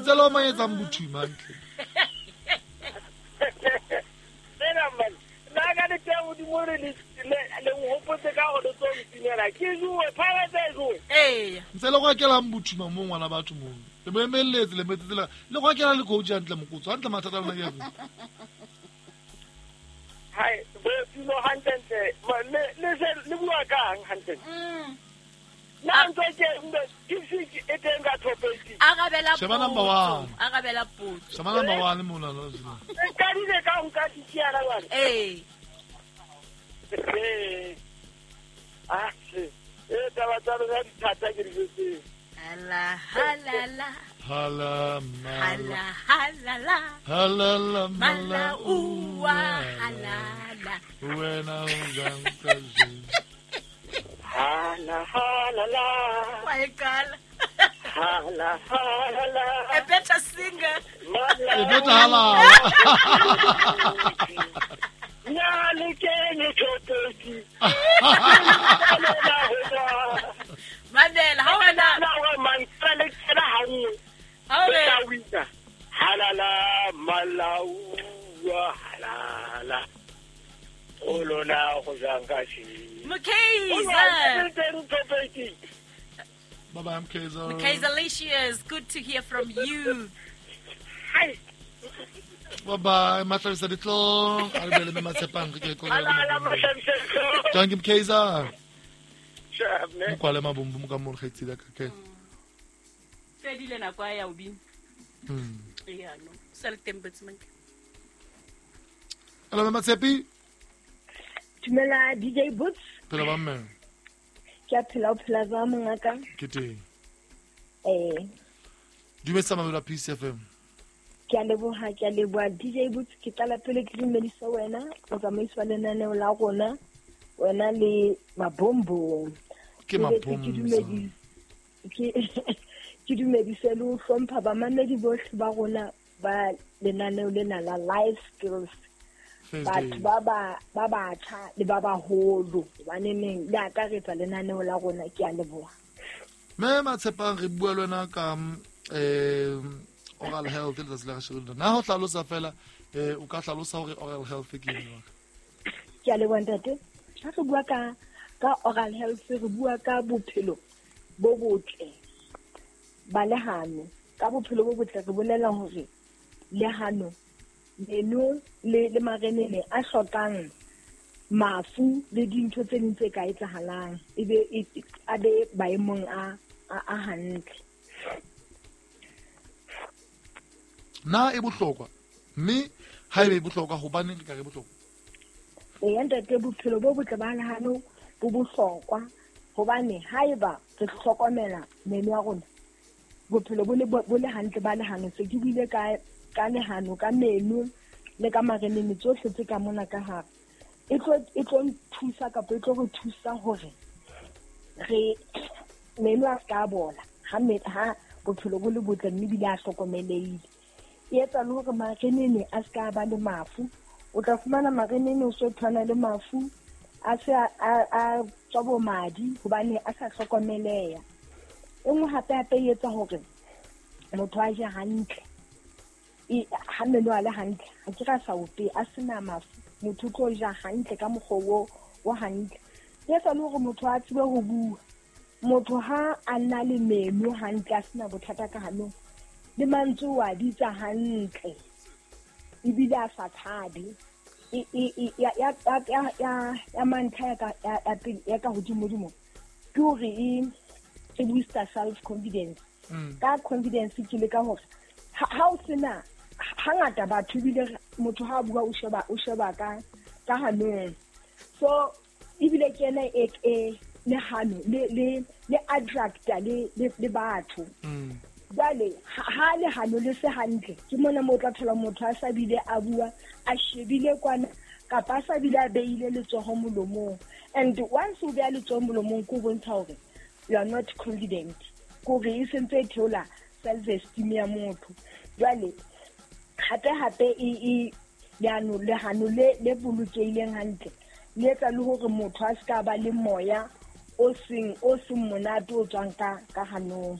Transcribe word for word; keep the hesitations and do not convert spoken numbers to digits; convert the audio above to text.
Ntse le o manyetsang bothuma hantle. Nna man, nna ka le teng hodimo re le le nhopotse ka hore le tlo ntimela. Ke jowe, Pirates e jowe. Ee. Ntse le go akelang bothuma mo ngwana batho mo. Le mo emelletse le metsetse le le go akela le coach hantle mokotso hantle mathata a lona ke afe? Hai, bo tulo hantle le le se le bua kang hantle. Mm. Na ntse ke ke se e teng ka top eight. Arabela Sheba number one. Arabela potso. Sheba number one mona no. Ka dile ka nka ditsiana bana. Eh. Eh. Ah, eh taba tsa rona di thata ke di jwetse. Hala halala. Hala hala halala. Halala mala uwa halala. Wena o jang ka je. Hala halala. Wa ekala. Hala halala. A better singer. A better halala. Na le kene tshotsi. Mandela, ha wena na wa mantsale tsela ha nngwe. Ha o re wina. Halala malauwa halala. O lona go jang ka shi. Mkhize. Bye bye Mkhize. Mkhize Alicious, good to hear from you. Hi. Bye bye, Mahlabisa Ditlong. A re bele me Matshepang ke ko. Halala Mahlabisa Ditlong. Thank you Mkhize. Sharp ne. Mokwale mabombo mo ka mo re kgetsile ka ke. Fedile nako ya o bina. Mm. Yeah no. Sel tembetsman. Hello Matshepi. Dumela D J Boots. Phela ba mme. Ke a phela o phela jwang mongaka? Ke teng. Eh. Dumedisa mamelo a P C F M. Ke a leboha, ke a leboha D J Boots, ke qala pele ke dumedisa wena, motsamaisi wa lenaneo la rona, wena le mabombo. Ke mabombo. Ke ke dumedise le ho hlompha bamamedi bohle ba rona ba lenaneo lena la Life Skills. Batho ba ba ba batjha le ba baholo hobane neng le akaretsa lenaneo la rona. Ke a leboha. Mme Matshepang re bua le wena ka eh oral health le tsatsi la kasheno. Na ho hlalosa fela eh o ka hlalosa hore oral health ke eng? Ke a leboha ntate. Ha re bua ka ka oral health re bua ka bophelo bo botle ba lehano. Ka bophelo bo botle re bolela hore lehano meno le le marenene a hlokang mafu le dintho tse ding tse ka etsahalang ebe a be maemong a a hantle. Na e bohlokwa mme ha ebe e bohlokwa hobaneng re ka re bohlokwa? Ee ntate, bophelo bo botle ba lehano bo bohlokwa hobane haeba re hlokomela meno ya rona bophelo bo le bo le hantle ba lehano. Se ke buile ka ka lehano ka meno le ka marenene tsohle tse ka mona ka hare e tlo e tlo nthusa kapa e tlo re thusa hore re meno a ska bola ha me ha bophelo bo le botle mme bile a hlokomelehile. E etsa le hore marenene a ska ba le mafu. O tla fumana marenene o so tshwana le mafu a se a a tswa bo madi hobane a sa hlokomeleha. E nngwe hape hape e etsa hore motho a je hantle. E ha meno a le hantle ha ke ra sa ope a sena mafu motho o tlo ja hantle ka mokgwa o o hantle. E etsa le hore motho a tsebe ho bua. Motho ha a na le meno hantle a sena bothata ka hanong le mantswe o a bitsa hantle ebile a sa tshabe. E e ya ya ya ya ya mantlha ya ka ya pele ya ka hodimodimo ke hore e e booster self confidence. Ka confidence ke le ka hore ha o sena hangata batho ebile motho ha bua o sheba o sheba ka ka hanong. So ebile ke ena e e le hano le le le attracta le le batho. Jwale ha le hano le se hantle ke mona mo tla thola motho a sa bile a bua a shebile kwana kapa a sa bile a beile letsoho molomong. And once o beya letsoho molomong ko bontsha hore you are not confident, kore e sentse e theola self esteem ya motho. Jwale hape hape e e leano le hano le le bolokehileng hantle le etsa le hore motho a ska ba le moya o seng o seng monate o tswang ka ka hanong.